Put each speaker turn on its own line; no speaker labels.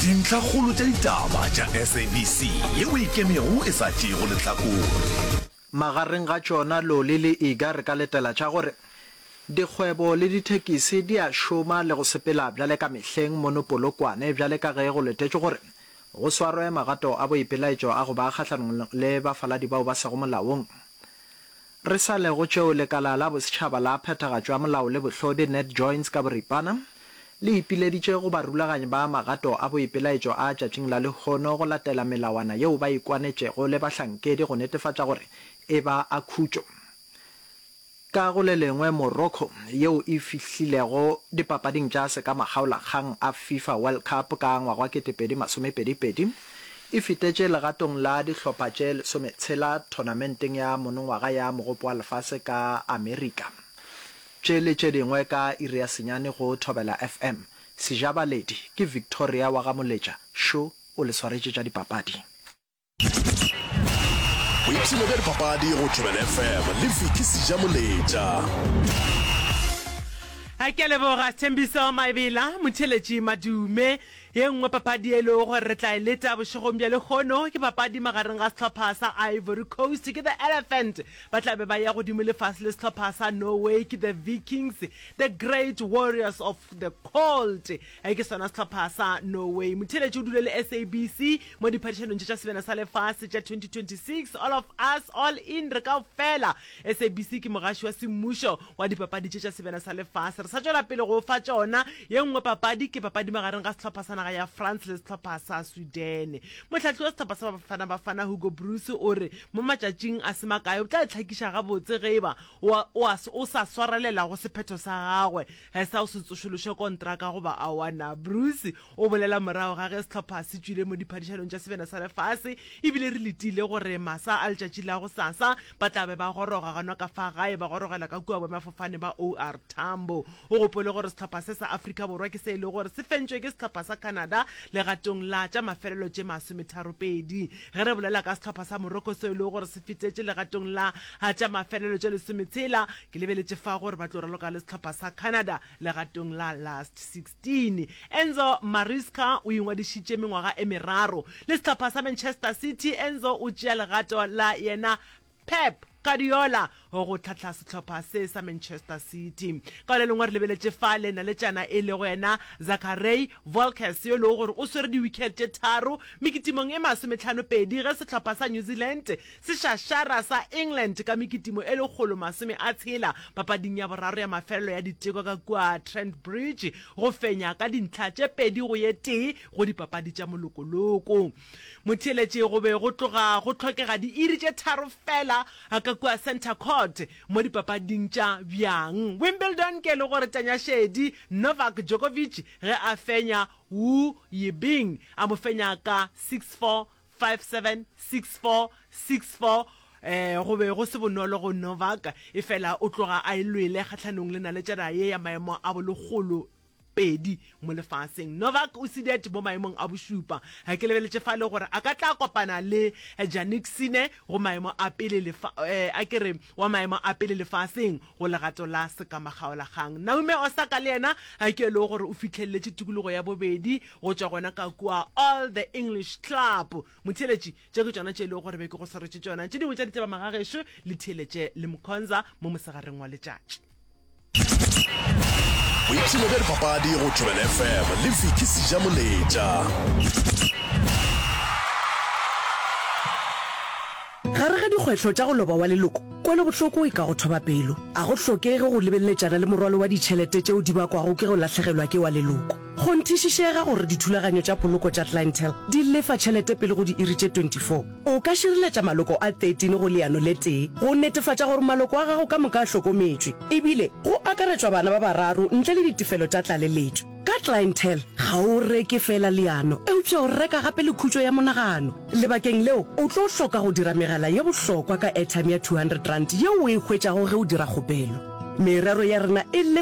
Dintlhakgolo tša ditaba tša SABC yeo e ikemego e sa tšeego lehlakore.
Magareng ga tšona loli le iga re ka letela tša gore dikgwebo le dithekisi di a šoma le go sepela bjale ka mehleng mono Polokwane bjale ka ge go letetšwe gore go swarwe magato a boipelaetšo a go ba kgahlanong le bafaladi bao ba sego molaong. Re sa le go tšeo, Lekala la Bosetšhaba la Phethagatšo ya Molao le Bohlodi, NatJoints ka boripana, le ipileditše go barulaganyi ba magato a boipelaetšo a tšatšing la lehono go latela melawana yeo ba ikwanetšego le bahlankedi go netefatša gore e ba a khutšo. Ka go le lengwe, Morocco, yeo e fihlilego dipapading tša sekamakgaolakgang a FIFA World Cup ka ngwaga wa 2022, e fetetše legatong la dihlopha tše lesometshela thonamenteng ya monongwaga ya Mogopo wa Lefase ka Amerika. Tše le tše dingwe ka iri ya senyane go Thobela FM. Sejabaledi ke Victoria wa ga Moletša, šo o le swaretše tša dipapadi.
Boipshino bja dipapadi go Thobela FM le Vicky Sejamoletša.
Ke a leboga Thembiso Maebela, motheeletši Madume. Ye nngwe papadi e lego gore re tla e leta bošegong bja lehono ke papadi magareng ga sehlopha sa Ivory Coast ke The Elephant ba tla be ba ya godimo le fase le sehlopha sa Norway ke The Vikings, The Great Warriors of the Cold. E ke sona sehlopha sa Norway. Motheeletši o dule le SABC mo diphadišanong tše tša Sebjana sa Lefase tša 2026. All of us, all in, re kaofela. SABC ke mogaši wa semmušo wa dipapadi tše tša Sebjana sa Lefase. Re sa tšwela pele go o fa tšona. Ye nngwe papadi ke papadi magareng ga sehlopha sa naga ya France le sehlopha sa Sweden. Mohlahli wa sehlopha sa Bafana Bafana Hugo Broos o re mo matšatšing a se makae o tla itlhakiša gabotse ge e ba o, o, o sa swarelela go sephetho sa gagwe sa go se tsošološe kontraka goba aowa na. Broos o bolela morago ga ge sehlopha se tšwile mo diphadišanong tša Sebjana sa Lefase ebile re letile gore masa a letšatši la gosasa ba tla be ba goroga gona ka fa gae ba gorogela ka kua boemafofane ba OR Tambo. O gopole gore sehlopha se sa Afrika Borwa ke se e lego gore se fentšwe ke sehlopha sa Canada legatong la tša mafelelo tše masometharopedi. Ge re bolela ka sehlopha sa Morocco seo e lego gore se fetetše legatong la tša mafelelo tše lesometshela, ke lebeletše fa gore ba tlo raloka le sehlopha sa Canada legatong la last 16. Enzo Maresca o ingwadišitše mengwaga e meraro le sehlopha sa Manchester City. Enzo o tšea legato la yena Pep Guardiola go hlahla sehlopha se sa Manchester City. Ka le lengwe re lebeletše fa le naletšana e lego yena Zachary Volkes yo e lego gore o swere di-wicket tše tharo mekitimong e masometlhanopedi ge sehlopha sa New Zealand se šašara sa England ka mekitimo e lekgolo masome a tshela papading ya boraro ya mafelelo ya diteko ka kua Trent Bridge go fenya ka dintlha tše pedi go ye tee go dipapadi tša molokoloko. Motheeletši go be go tloga go hlokega diiri tše tharo fela ka kua Centre Court mo dipapading tša bjang Wimbledon ke le gore Tanya Šedi Novak Djokovic ge a fenya Wu Yibing a mo fenya ka 6-4, 5-7, 6-4, 6-4. Go be go se bonolo go Novak, efela o tloga a e lwele kgahlanong le naletšana ye ya maemo a bolekgolo pedi mo lefaseng. Novak o seated mo maemong a bošupa. Ke lebeletše fale gore a ka tla kopana le Jannik Sinner go maemo a pele lefa, a ke re wa maemo a pele lefaseng go legato la sekamakgaolakgang. Naomi Osaka le yena ke e lego gore o fihleletše tikologo ya bobedi go tšwa gona ka kua All the English Club. Motheeletši, tše ke tšona tše e lego gore be ke go swaretše tšona. Tše dingwe tša ditaba magagešo le theeletše le Mkhonza mo mosegareng wa letšatši.
Boipshino bja dipapadi go Thobela FM le Vicky Sejamoletša.
Gare ga dikgwetlho tša go loba wa leloko, kwelobohloko e ka go thoba pelo. A go hlokege go lebeleletšana le morwalo wa ditšhelete tšeo di bakwago ke go lahlegelwa ke wa leloko. Kgonthišišega gore dithulaganyo tša poloko tša Clientele di lefa tšhelete pele go diiri tše 24. O ka šireletša maloko a 13 go leano le tee go netefatša gore maloko a gago ka moka a hlokometšwe, ebile go akaretšwa bana ba bararo ntle le ditefelo tša tlaleletšo. Ka Clientele, ga o reke feela leano, eupša o reka gape le khutšo ya monagano. Lebakeng leo, o tlo hloka go dira megala ye bohlokwa ka airtime ya R200 yeo o e hwetšago ge o dira kgopelo. Merero ya rena e lefa.